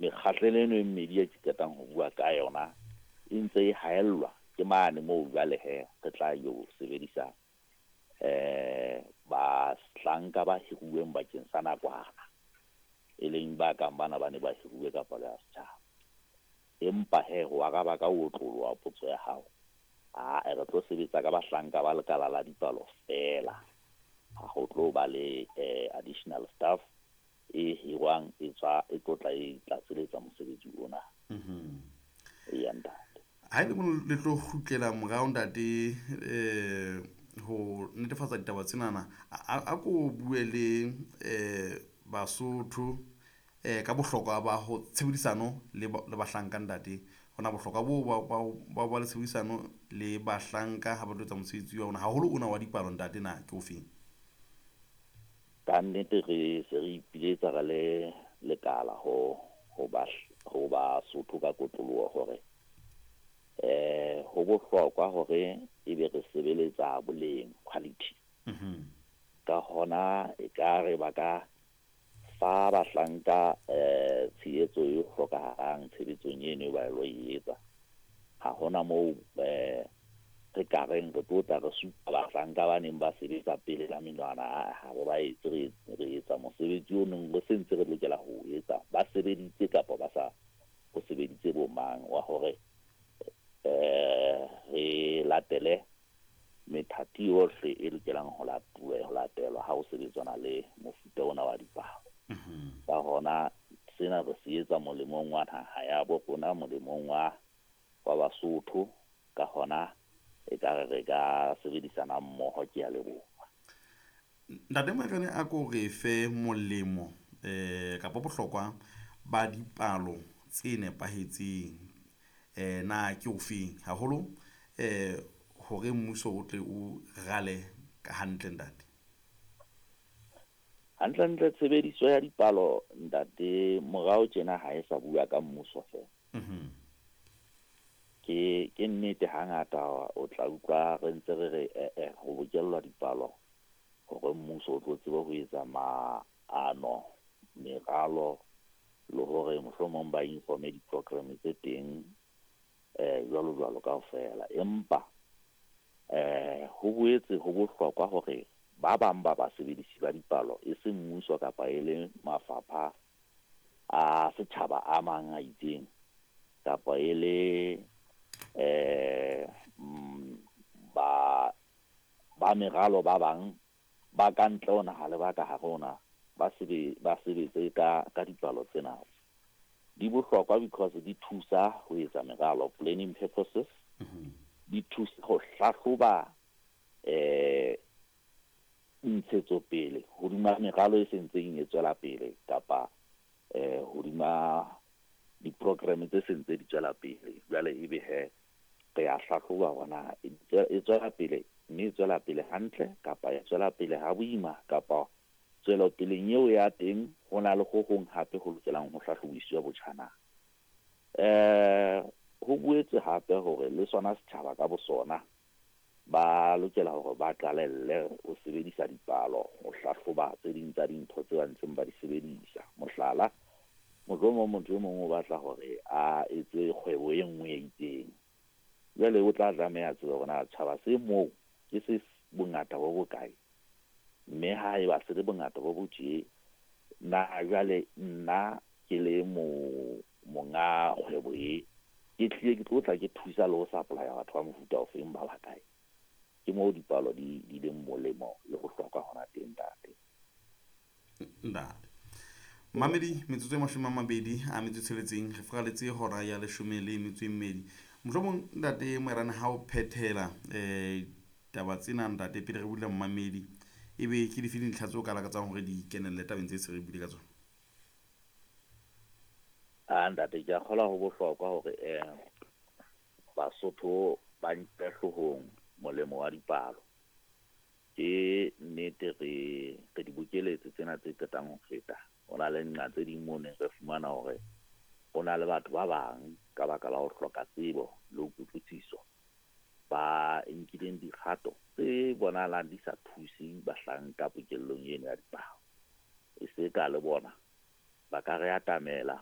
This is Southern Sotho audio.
Mekgahlelo eno e mmedi e ke qetang ho bua ka yona e ntse e haellwa ke mane moo jwale he re tla yo sebedisa bahlanka ba hiruweng bakeng sa nakwana, e leng ba kang bana ba ne ba hiruwe ka palo ya setjhaba. Empa he ho araba ka ho otloloha potso ya hao, ae re tlo sebetsa ka bahlanka ba lekala la dipalo feela. Ha ho tlo ba le additional staff e hirwang e tswa e tlo tla e tlatseletsa mosebetsi ona. Eya ntate. Ha e le mo le tlo kgutlela morao ntate, ho netefatsa ditaba tsenana, a ko bue le Basotho ka bohlokwa ba ho tshebedisano le bahlanka ntate. Hona bohlokwa bo ba le tshebedisano le bahlanka ha ba tlo etsa mosebetsi wa bona, haholo ona wa dipalo ntate, na ke ofeng? Ka nnete re se re ipiletsa re le lekala ho Basotho ka kotloloho hore ho bohlokwa hore ebe re sebeletsa boleng, quality. Ka hona e ka re ba ka fa bahlanka tshehetso e hlokahalang tshebetsong eno e ba lo e etsa. Ha hona moo re ka reng re tlo tla re supa bahlanka ba neng ba sebetsa pele ka menwana, ha re ba etse, re etsa mosebetsi o neng re sentse re lokela ho o etsa, ba sebeditse kapa ba sa o sebeditse bo mang, wa hore re latele methati yohle e lokelang ho latelwa ha ho sebetsana le mofuta ona wa dipalo. Ka hona sena re se etsa molemong wa naha ya bo rona, molemong wa Basotho. Ka hona e ka re ka sebedisana mmoho. Ke a leboha. Ntate Moerane, a ko re fe molemo kapa bohlokwa ba dipalo tse nepahetseng, na ke ofeng haholo hore mmuso o tle o rale ka hantle ntate? Hantle-ntle tshebediso ya dipalo ntate morao tjena ha e sa bua ka mmuso feela. Ke nnete hangata o tla utlwa re ntse re re ho bokellwa dipalo hore mmuso o tlo tsebe ho etsa maano, meralo, le hore mohlomong ba informe di-program tse teng jwalo jwalo kaofela. Empa ho boetse ho bohlokwa hore ba bang ba basebedisi ba dipalo e seng mmuso kapa e le mafapha a setjhaba a mang a itseng kapa e le ba meralo ba bang ba ka ntle ho naha le ba ka hare ho naha ba sebetse ka dipalo tsena. Di bohlokwa because di thusa ho etsa meralo, planning purposes, di thusa ho hlahloba ntshetsopele hodima meralo e sentseng e tswela pele kapa hodima di-program tse sentse di tswela pele. Jwale ebe he re a hlahloba hore na e tswela pele, mme e tswela pele hantle kapa e tswela pele ha boima, kapa tswelopeleng eo ya teng ho na le ho hong hape ho lokelang ho hlahlobiswa botjhana. Ho boetse hape hore le sona setjhaba ka bosona ba lokela hore ba qalelle ho sebedisa dipalo ho hlahloba tse ding tsa dintho tse ba ntseng ba di sebedisa. Mohlala, mohlomong motho e mong o batla hore a etse kgwebo e nngwe e itseng. Jwale o tla tlameha tsebe hore na tjhaba se moo ke se bongata bo bokae, mme ha eba se le bongata bo bo tje, na jwale nna ke le monga kgwebo e, ke tlile ke tlo tla ke thusa le ho supply-a batho ba mofuta ofeng ba bakae. Ke moo dipalo di leng molemo le bohlokwa hona teng ntate. Ntate Mamedi, metsotso e 26 re furaletse hora ya 12. Mohlomong ntate Moerane ha o phethela taba tsena ntate pele re bula mmamedi, ebe ke dife dintlha tseo ka lakatsang hore di kenelle tabeng tse se re buile ka tsona? Ntate, ke a kgolwa ho bohlokwa hore Basotho ba nke hloohong molemo wa dipalo. Ke nnete re di bokeletse tsena tse qetang ho feta. Ho na le nqa tse ding moo neng re fumana hore ho na le batho ba bang ka baka la ho hloka tsebo le ho kutlwisiso ba nkileng dikgato tse bonahalang di sa thuse bahlanka pokellong eno ya dipalo. E se ka le bona ba ka re atamela